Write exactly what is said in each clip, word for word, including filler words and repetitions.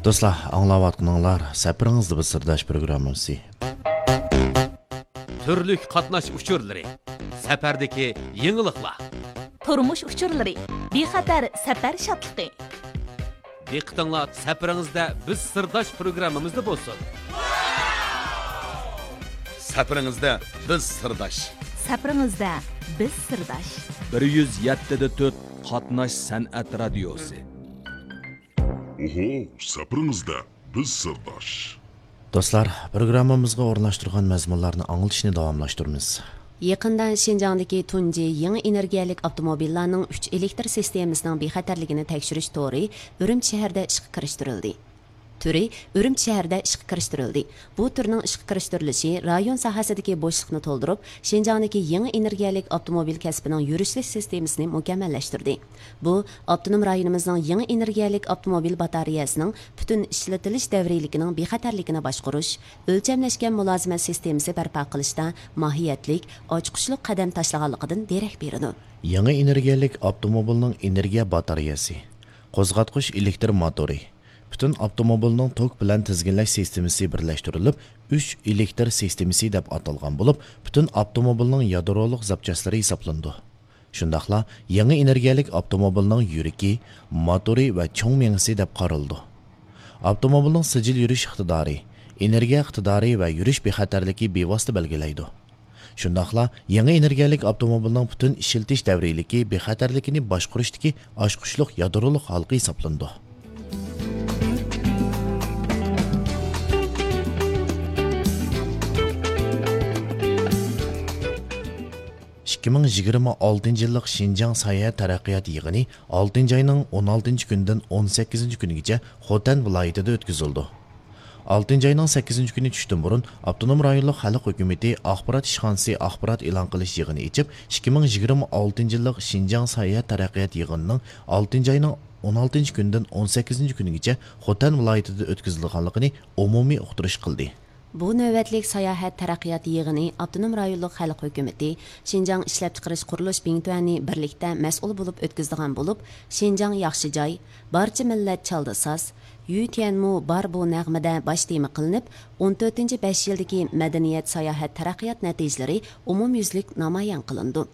دوستلار، ئاڭلاۋاتقىنىڭلار سەپىرىڭىزدە بىز سىرداش پروگراممىسى. تۈرلۈك قاتناش ئۇچۇرلىرى، سەپەردىكى يېڭىلىقلار. تۇرمۇش ئۇچۇرلىرى، بىخەتەر سەپەر شادلىقى. دىققىتىڭلار سەپىرىڭىزدە بىز سىرداش پروگراممىمىزدا بولسۇن. سەپىرىڭىزدە بىز سىرداش. سەپىرىڭىزدە بىز سىرداش. بىر يۈز يەتتە دە تۆت قاتناش سەنئەت رادىيوسى. ئوھو، سەپىرىڭىزدە بىز سىرداش. دوستلار، پروگراممىمىزغا ئورۇنلاشتۇرغان مەزمۇنلارنى ئاڭلىتىشنى داۋاملاشتۇرىمىز. يېقىندا شىنجاڭدىكى تۇنجى يېڭى ئېنېرگىيەلىك ئاپتوموبىللارنىڭ ئۈچ ئېلېكتر سىستېمىسىنىڭ بىخەتەرلىكىنى تەكشۈرۈش تورى ئۈرۈمچى شەھىرىدە ئىشقا كىرىشتۈرۈلدى. تۈرى ئۈرۈمچى شەھىرىدە ئىشقا كىرىشتۈرۈلدى. بۇ تۈرنىڭ ئىشقا كىرىشتۈرۈلۈشى رايون ساھەسىدىكى بوشلۇقنى تولدۇرۇپ، شىنجاڭدىكى يېڭى ئېنېرگىيەلىك ئاپتوموبىل كەسپىنىڭ يۈرۈشلۈك سىستېمىسىنى مۇكەممەللەشتۈردى. بۇ، ئاپتونوم رايونىمىزنىڭ يېڭى ئېنېرگىيەلىك ئاپتوموبىل باتارېيەسىنىڭ پۈتۈن ئىشلىتىلىش دەۋرىيلىكىنىڭ بىخەتەرلىكىنى باشقۇرۇش، ئۆلچەملەشكەن مۇلازىمەت سىستېمىسى بەرپا قىلىشتا ماھىيەتلىك، ئاچقۇچلۇق قەدەم تاشلىغانلىقىدىن دېرەك بېرىدۇ. يېڭى ئېنېرگىيەلىك ئاپتوموبىلنىڭ ئېنېرگىيە باتارېيەسى، قوزغاتقۇچ ئېلېكتر موتورى، پۈتۈن ئاپتوموبىلنىڭ توك بىلەن تىزگىنلەش سىستېمىسى بىرلەشتۈرۈلۈپ، ئۈچ ئېلېكتر سىستېمىسى دەپ ئاتالغان بولۇپ، پۈتۈن ئاپتوموبىلنىڭ يادرولۇق زاپچاسلىرى ھېسابلىنىدۇ. شۇنداقلا يېڭى ئېنېرگىيەلىك ئاپتوموبىلنىڭ يۈرىكى، موتورى ۋە چوڭ مېڭىسى دەپ قارىلىدۇ. ئاپتوموبىلنىڭ سىجىل يۈرۈش ئىقتىدارى، ئېنېرگىيە ئىقتىدارى ۋە يۈرۈش بىخەتەرلىكى بىۋاسىتە بەلگىلەيدۇ. شۇنداقلا يېڭى ئېنېرگىيەلىك ئاپتوموبىلنىڭ پۈتۈن ئىشلىتىش دەۋرىيلىكى بىخەتەرلىكىنى باشقۇرۇشتىكى ئاچقۇچلۇق يادرولۇق ھالقا ھېسابلىنىدۇ. ئىككى مىڭ يىگىرمە ئالتىنچى يىللىق شىنجاڭ ساياھەت تەرەققىيات يىغىنى ئالتىنچى ئاينىڭ ئون ئالتىنچى كۈنىدىن ئون سەككىزىنچى كۈنىگىچە خوتەن ۋىلايىتىدە ئۆتكۈزۈلىدۇ. ئالتىنچى ئاينىڭ سەككىزىنچى كۈنى چۈشتىن بۇرۇن ئاپتونوم رايونلۇق خەلق ھۆكۈمىتى ئاخبارات ئىشخانىسى ئاخبارات ئېلان قىلىش يىغىنى ئېچىپ، ئىككى مىڭ يىگىرمە ئالتىنچى يىللىق شىنجاڭ ساياھەت تەرەققىيات يىغىنىنىڭ ئالتىنچى ئاينىڭ ئون ئالتىنچى كۈنىدىن ئون سەككىزىنچى كۈنىگىچە خوتەن ۋىلايىتىدە ئۆتكۈزۈلىدىغانلىقىنى ئومۇمىي ئۇقتۇرۇش قىلدى. بۇ نۆۋەتلىك ساياھەت تەرەققىيات يىغىنى ئاپتونوم رايونلۇق خەلق ھۆكۈمىتى، شىنجاڭ ئىشلەپچىقىرىش قۇرۇلۇش بىڭتۈەنى بىرلىكتە مەسئۇل بولۇپ ئۆتكۈزىدىغان بولۇپ، شىنجاڭ ياخشى جاي، بارچە مىللەت چالدى ساز، يۈ تيەنمۇ بار بۇ نەغمىدە باش تېما قىلىنىپ، ئون تۆتىنچى بەش يىلدىكى مەدەنىيەت ساياھەت تەرەققىيات نەتىجىلىرى ئومۇميۈزلۈك نامايان قىلىنىدۇ.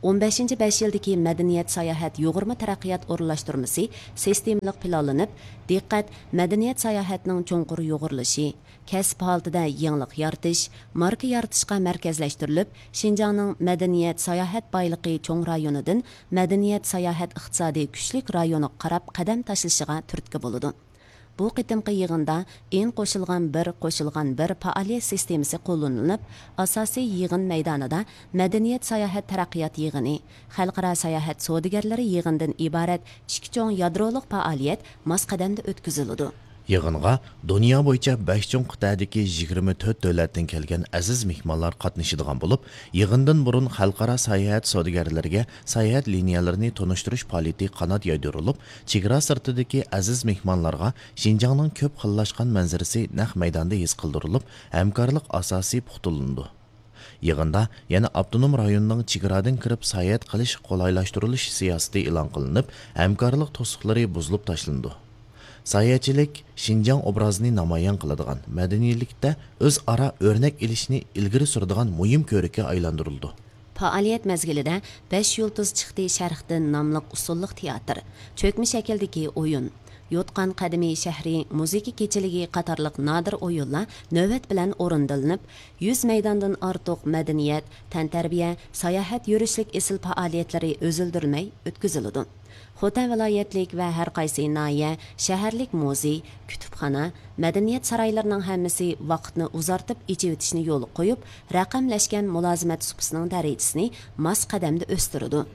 ئون بەشىنچى بەش يىلدىكى مەدەنىيەت ساياھەت يۇغۇرما تەرەققىيات ئورۇنلاشتۇرمىسى سىستېمىلىق پىلانلىنىپ، دىققەت مەدەنىيەت ساياھەتنىڭ چوڭقۇر يۇغۇرۇلۇشى، كەسىپ ھالىتىدە يېڭىلىق يارىتىش، ماركا يارىتىشقا مەركەزلەشتۈرۈلۈپ، شىنجاڭنىڭ مەدەنىيەت ساياھەت بايلىقى چوڭ رايونىدىن مەدەنىيەت ساياھەت ئىقتىسادىي كۈچلۈك رايونىغا قاراپ قەدەم تاشلىشىغا تۈرتكە بولىدۇ. بۇ قېتىمقى يىغىندا ئېن قوشۇلغان بىر، قوشۇلغان بىر پائالىيەت سىستېمىسى قوللىنىلىپ، ئاساسىي يىغىن مەيدانىدا مەدەنىيەت ساياھەت تەرەققىيات يىغىنى، خەلقئارا ساياھەت سودىگەرلىرى يىغىنىدىن ئىبارەت ئىككى چوڭ يادرولۇق پائالىيەت ماس قەدەمدە ئۆتكۈزۈلىدۇ. يىغىنغا دۇنيا بويىچە بەش چوڭ قىتئەدىكى يىگىرمە تۆت دۆلەتتىن كەلگەن ئەزىز مېھمانلار قاتنىشىدىغان بولۇپ، يىغىندىن بۇرۇن خەلقئارا ساياھەت سودىگەرلىرىگە ساياھەت لىنىيەلىرىنى تونۇشتۇرۇش پائالىيىتى قانات يايدۇرۇلۇپ، چېگرا سىرتىدىكى ئەزىز مېھمانلارغا شىنجاڭنىڭ كۆپ خىللاشقان مەنزىرىسى نەق مەيداندا ھېس قىلدۇرۇلۇپ، ھەمكارلىق ئاساسى پۇختىلىنىدۇ. يىغىندا يەنە ئاپتونوم رايوننىڭ چېگرادىن كىرىپ ساياھەت قىلىش قولايلاشتۇرۇلۇش سىياسىتى ئېلان قىلىنىپ، ھەمكارلىق توسۇقلىرى بۇزۇلۇپ تاشلىنىدۇ. ساياھەتچىلىك شىنجاڭ ئوبرازىنى نامايان قىلىدىغان، مەدەنىيلىكتە ئۆزئارا ئۆرنەك ئېلىشنى ئىلگىرى سۈرىدىغان مۇھىم كۆرۈككە ئايلاندۇرۇلىدۇ. پائالىيەت مەزگىلىدە بەش يۇلتۇز چىقتى شەرقتىن ناملىق ئۇسسۇللۇق تىياتىر، چۆكمە شەكىلدىكى ئويۇن، يوتقان قەدىمىي شەھىرى مۇزىكا كېچىلىكى قاتارلىق نادىر ئويۇنلار نۆۋەت بىلەن ئورۇندىلىنىپ، يۈز مەيداندىن ئارتۇق مەدەنىيەت، تەنتەربىيە، ساياھەت يۈرۈشلۈك ئېسىل پائالىيەتلىرى ئۈزۈلدۈرمەي ئۆتكۈزۈلىدۇ. خوتەن ۋىلايەتلىك ۋە ھەر قايسى ناھىيە، شەھەرلىك مۇزېي، كۇتۇپخانا، مەدەنىيەت سارايلىرىنىڭ ھەممىسى ۋاقىتنى ئۇزارتىپ ئېچىۋېتىشنى يولغا قويۇپ، رەقەملەشكەن مۇلازىمەت سۇپىسىنىڭ دەرىجىسىنى ماس قەدەمدە ئۆستۈرىدۇ.